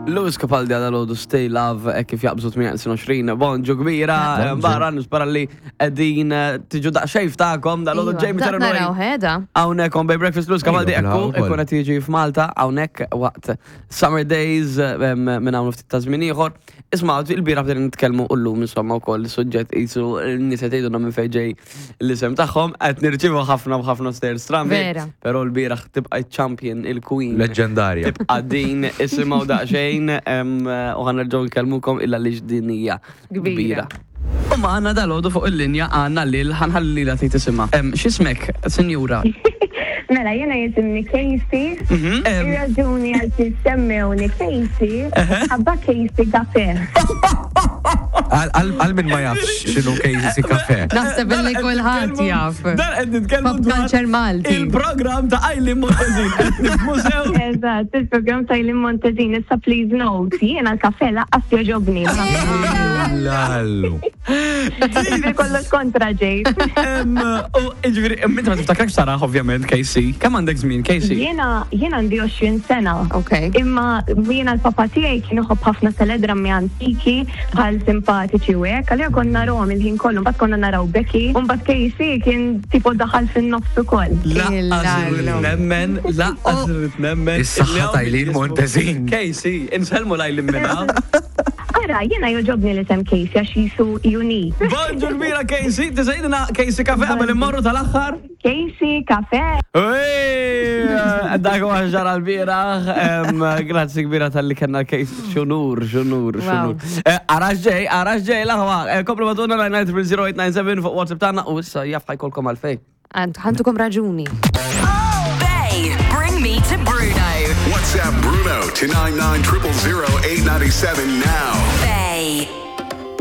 Lewis Capaldi għal għodu Stay Love e kif jaqbżu 28 bonġu kbira barra nispera li qegħdin eh, tiġu daqsxejn ftakom dal-għodu Iva, Jamie daqt Terrenoy. naraw ħeda. Hawnhekk on Bay Breakfast Lewis Capaldi Iva, ekku bla, ikun qed jiġi f'Malta hawnhekk waqt Summer Days eh, minn hawn ftit ta' żmien ieħor. Isma' il-bieraħ bdejna nitkellmu u llum insomma wkoll is-suġġett qisu n-nies qed jgħidulna minn fejn ġej l-isem tagħhom qed nirċievu ħafna u ħafna stejjer strambi. Vera. Però l-bieraħ tibqa' champion il-queen. Leġġendarja. Tibqa' din isimgħu daqsxejn em, u ħa nerġgħu nkellmukom illa li din hija Kbira. kbira. U magħna dalgħodu fuq il-linja għandna lil ħa nħalli lilha tgħid isimha. Em, X'ismek, sinjura? Mela, jena jisimni Casey. Mhm. Em, Ir-raġuni għal kif semmewni Casey, ħabba Casey Cafe. Għal min ma jafx x'inhu Casey Cafe. Naħseb Dan li qed kulħadd nitkellmu- jaf. Dan qed nitkellmu Pop dwar culture Malti. Il-programm ta' Eileen Montezin qed nifhmu sew. Eżatt, il-program ta' Eileen Montezin, issa please note, jiena l-kafe laqqas joġobni. Lallu. Ġifieri kollox kontra ġejt. Em, U ġifieri, inti ma tiftakarx Sara ovvjament Casey. Kemm għandek żmien Casey? Jiena jiena għandi 20 sena. Ok. Imma jiena l-papa tiegħi kien iħobb ħafna teledrammi antiki bħal simpatiċi u hekk, għalija konna narawhom il-ħin kollu, mbagħad konna naraw Becky, u mbagħad Casey kien tipo daħal fin-nofs ukoll. Laqqas irrid nemmen, laqqas irrid nemmen. Is-saħħa ta' Eileen Montezin. Casey, insellmu l-Eileen minna. Ara, jiena joġobni l-isem Casey għax jisu unique. Bonġu kbira Casey, tista' Casey kafe qabel immorru tal-aħħar? Casey, kafe. Ej, Dak huwa ġara l-bieraħ. em, Grazzi kbira tal-li kellna Casey. Xunur, xunur, Wow. xunur. Eh, Arax ġej, arax ġej, l-aħwa. Eh, Komplu matuna 990 fuq WhatsApp tagħna u issa jaf ħajkolkom għalfejn. Għandukom raġuni. Bay, bring me to Bruno. WhatsApp Bruno to 99 000 897 now.